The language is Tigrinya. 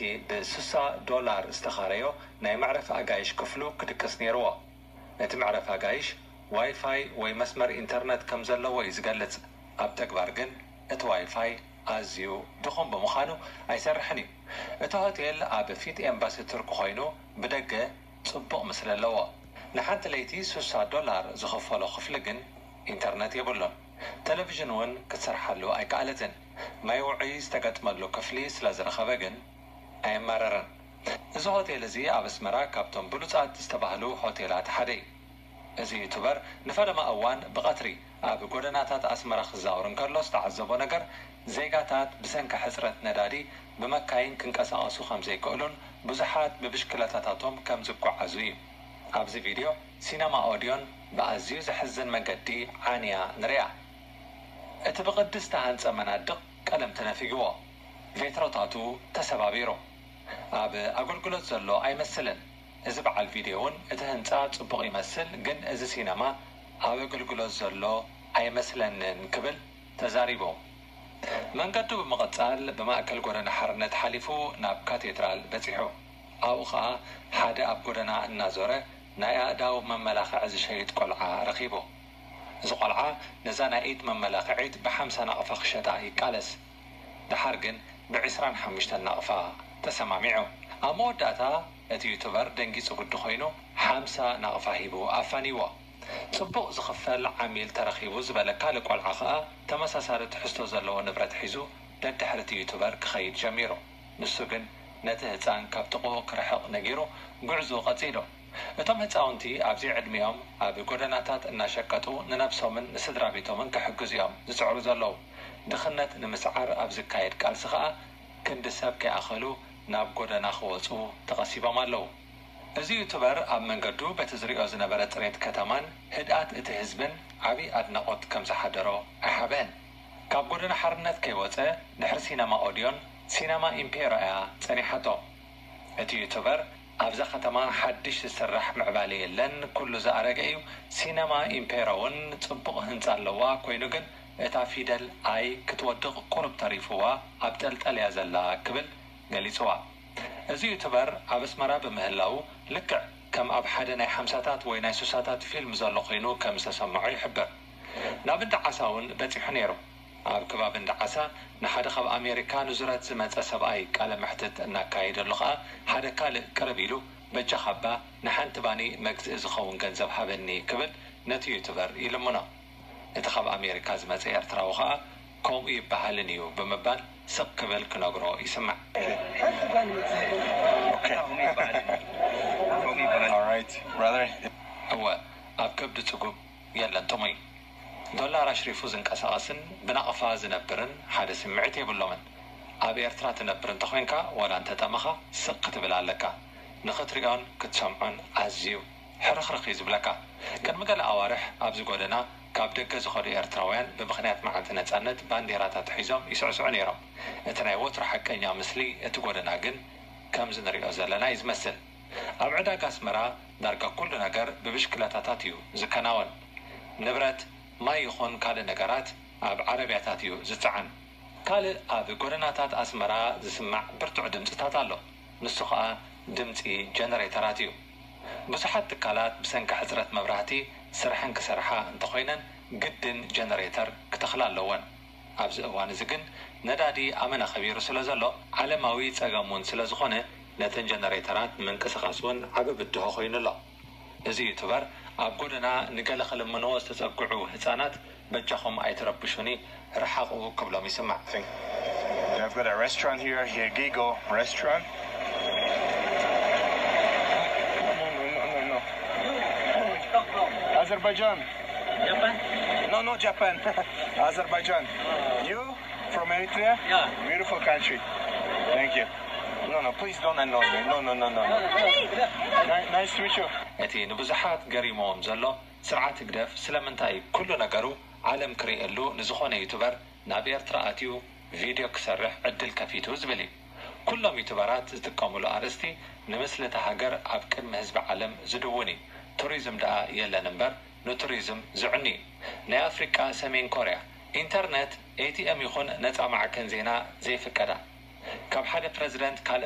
እቲ ብ60 ዶላር ዝተኻረዮ ናይ መዕረፊ ኣጋይሽ ክፍሉ ክድቅስ ነይርዎ። እቲ መዕረፊ ኣጋይሽ ዋይፋይ ወይ መስመር ኢንተርነት ከም ዘለዎ እዩ ዝገልጽ። ኣብ ተግባር ግን እቲ ዋይፋይ ኣዝዩ ድኹም ብምዃኑ ኣይሰርሕን እዩ። እቲ ሆቴል ኣብ ፊት ኤምባሲ ቱርኪ ኮይኑ ብደገ ጽቡቕ ምስሊ ኣለዎ። ንሓንቲ ለይቲ ስሳ ዶላር ዝኸፈሎ ክፍሊ ግን ኢንተርነት የብሉን። ቴሌቪዥን እውን ክትሰርሓሉ ኣይከኣለትን። ማይ ውዑይ ዝተገጥመሉ ክፍሊ ስለ ዝረኸበ ግን ኣየማረረን። እዚ ሆቴል እዚ ኣብ ኣስመራ ካብቶም ብሉጻት ዝተባህሉ ሆቴላት ሓደ እዩ። እዚ ዩቱበር ንፈለማ እዋን ብቐትሪ ኣብ ጎደናታት ኣስመራ ክዛወር እንከሎ ዝተዓዘቦ ነገር፣ ዜጋታት ብሰንኪ ሕጽረት ነዳዲ ብመካይን ክንቀሳቐሱ ከም ዘይክእሉን ብዙሓት ብብሽክለታታቶም ከም ዝጓዓዙ እዩ። ኣብዚ ቪድዮ፣ ሲነማ ኦድዮን ብኣዝዩ ዘሕዝን መገዲ ዓንያ ንሪኣ። እቲ ብቕዲ ዝተሃንጸ መናድቕ ቀለም ተነፊግዎ፣ ቬትሮታቱ ተሰባቢሩ። ኣብ ኣገልግሎት ዘሎ ኣይመስልን። እዚ በዓል ቪድዮ እውን እቲ ህንጻ ጽቡቕ ይመስል፣ ግን እዚ ሲነማ ኣብ ኣገልግሎት ዘሎ ኣይመስለንን ክብል ተዛሪቡ። መንገዱ ብምቕጻል ብማእከል ጎደና ሓርነት ሓሊፉ ናብ ካቴድራል በጺሑ። ኣብኡ ኸኣ ሓደ ኣብ ጎደና እናዞረ ናይ ኣእዳው መመላኽዒ ዝሸይጥ ቆልዓ ረኺቡ። እዚ ቆልዓ ነዛ ናይ ኢድ መመላኽዒት ብ50 ናቕፋ ክሸጣ ይቃለስ። ደሓር ግን ብ25 ናቕፋ ተሰማሚዑ። ኣብ መወዳእታ እቲ ዩቱበር ደንጊጹ ግዲ ኮይኑ ሓምሳ ናቕፋ ሂቡ ኣፋንይዎ። ጽቡቕ ዝኽፈል ዓሚል ተረኺቡ ዝበለ ካልእ ቆልዓ ኸኣ ተመሳሳሊ ትሕዝቶ ዘለዎ ንብረት ሒዙ ደድሕሪ እቲ ዩቱበር ክኸይድ ጀሚሩ። ንሱ ግን ነቲ ህጻን ካብ ጥቕኡ ክርሕቕ ነጊሩ ጉዕዞኡ ቀጺሉ። እቶም ህጻውንቲ ኣብዚ ዕድሚኦም ኣብ ጎደናታት እናሸቀጡ ንነብሶምን ንስድራ ቤቶምን ክሕግዙ እዮም ዝጽዕሩ ዘለዉ። ድኽነት ንምስዓር ኣብ ዝካየድ ቃልሲ ኸኣ ክንዲ ሰብ ከይኣኸሉ ናብ ጎደና ክወጹ ተቐሲቦም ኣለዉ። እዚ ዩቱበር ኣብ መንገዱ በቲ ዝሪኦ ዝነበረ ጽሬት ከተማን ህድኣት እቲ ህዝብን ዓቢ ኣድናቖት ከም ዝሓደሮ ኣይሓብአን። ካብ ጎደና ሓርነት ከይወጸ ድሕሪ ሲነማ ኦድዮን ሲነማ ኢምፔሮ እያ ጸኒሓቶ። እቲ ዩቱበር ኣብዛ ከተማ ሓድሽ ዝስራሕ ምዕባለ የለን፣ ኩሉ ዝኣረገ እዩ። ሲነማ ኢምፔሮ እውን ጽቡቕ ህንጻ ኣለዋ፣ ኮይኑ ግን እታ ፊደል ኣይ ክትወድቕ ቁሩብ ተሪፍዋ ኣብ ጠልጠል እያ ዘላ ክብል ገሊጽዋ። እዚ ዩቱበር ኣብ ኣስመራ ብምህላዉ ልክዕ ከም ኣብ ሓደ ናይ ሓምሳታት ወይ ናይ ስሳታት ፊልም ዘሎ ኮይኑ ከም ዝተሰምዖ ይሕብር። ናብ እንዳ ዓሳ እውን በጺሑ ነይሩ። ኣብ ከባቢ እንዳ ዓሳ ንሓደ ካብ ኣሜሪካ ንዙረት ዝመጸ ሰብኣይ ቃለ መሕትት እናካየደሉ ኸኣ ሓደ ካልእ ቅርብ ኢሉ በጃኻ እባ ንሓንቲ ባኒ መግዝኢ ዝኸውን ገንዘብ ሃበኒ ክብል ነቲ ዩቱበር ይልምኖ። እቲ ካብ ኣሜሪካ ዝመጸ ኤርትራዊ ኸኣ ከምኡ ይበሃልን እዩ ብምባል ስቕ ክብል ክነግሮ ይስማዕ። All right, brother. እወ ኣብ ከብዲ ጽጉብ የለን ጥሙይ። ዶላር ኣሽሪፉ ዝንቀሳቐስን ብናቕፋ ዝነብርን ሓደ ስምዒት የብሎምን። ኣብ ኤርትራ ትነብር እንተኾይንካ ዋላ እንተጠመኻ ስቕ ክትብል ኣለካ። ንኽትሪኦን ክትሰምዖን ኣዝዩ ሕርኽርኽ እዩ ዝብለካ። ቅድሚ ገለ ኣዋርሕ ኣብዚ ጎደና ካብ ደገ ዝኸዱ ኤርትራውያን ብምኽንያት መዓልቲ ነጻነት ባንዴራታት ሒዞም ይስዕስዑ ነይሮም። እቲ ናይ ወትሩ ሓቀኛ ምስሊ እቲ ጎደና ግን ከምዚ ንሪኦ ዘለና እዩ ዝመስል። ኣብ ዕዳጋ ኣስመራ ዳርጋ ኩሉ ነገር ብብሽክለታታት እዩ ዝከናወን። ንብረት፣ ማይ ይኹን ካልእ ነገራት ኣብ ዓረብያታት እዩ ዝጸዓን። ካልእ ኣብ ጎደናታት ኣስመራ ዝስማዕ ብርቱዕ ድምጽታት ኣሎ። ንሱ ኸኣ ድምጺ ጀነሬተራት እዩ። ብዙሓት ትካላት ብሰንኪ ሕጽረት መብራህቲ ስርሐን ክሰርሓ እንተኾይነን ግድን ጀነሬተር ክተኽላ ኣለወን። ኣብዚ እዋን እዚ ግን ነዳዲ ኣመና ከቢሩ ስለ ዘሎ ዓለማዊ ጸገም እውን ስለ ዝኾነ ነተን ጀነሬተራት ንምንቅስቓስ እውን ዓቢ ብድሆ ኮይኑ ኣሎ። እዚ ዩቱበር ኣብ ጎደና ንገለ ክልምንዎ ዝተጸግዑ ህጻናት በጃኹም ኣይትረብሹኒ ርሓቑ ክብሎም ይስማዕ። They've got a restaurant here, Hirgigo restaurant. No, no, no, no, no. Azerbaijan. Japan? No, not Japan. Azerbaijan. You from Eritrea? Yeah. Beautiful country. Thank you. No, no, please don't annoy me. No, no, no, no, no. Ni- nice to meet you. እቲ ንብዙሓት ገሪምዎም ዘሎ ስርዓት ህግደፍ ስለምንታይ ኩሉ ነገሩ ዓለም ክርእየሉ ንዝኾነ ዩቱበር ናብ ኤርትራ ኣትዩ ቪድዮ ክሰርሕ ዕድል ከፊቱ ዝብል እዩ። ኩሎም ዩቱበራት ዝጥቀምሉ ኣርእስቲ ንምስሊ እታ ሃገር ኣብ ቅድሚ ህዝቢ ዓለም ዝድውን እዩ። ቱሪዝም ደኣ የለን እምበር ንቱሪዝም ዝዕኑ እዩ። ናይ ኣፍሪቃ ሰሜን ኮርያ ኢንተርነት፣ ኤቲኤም ይኹን ነጻ ማዕከን ዜና ዘይፍቀዳ። ካብ ሓደ ፕረዚደንት ካልእ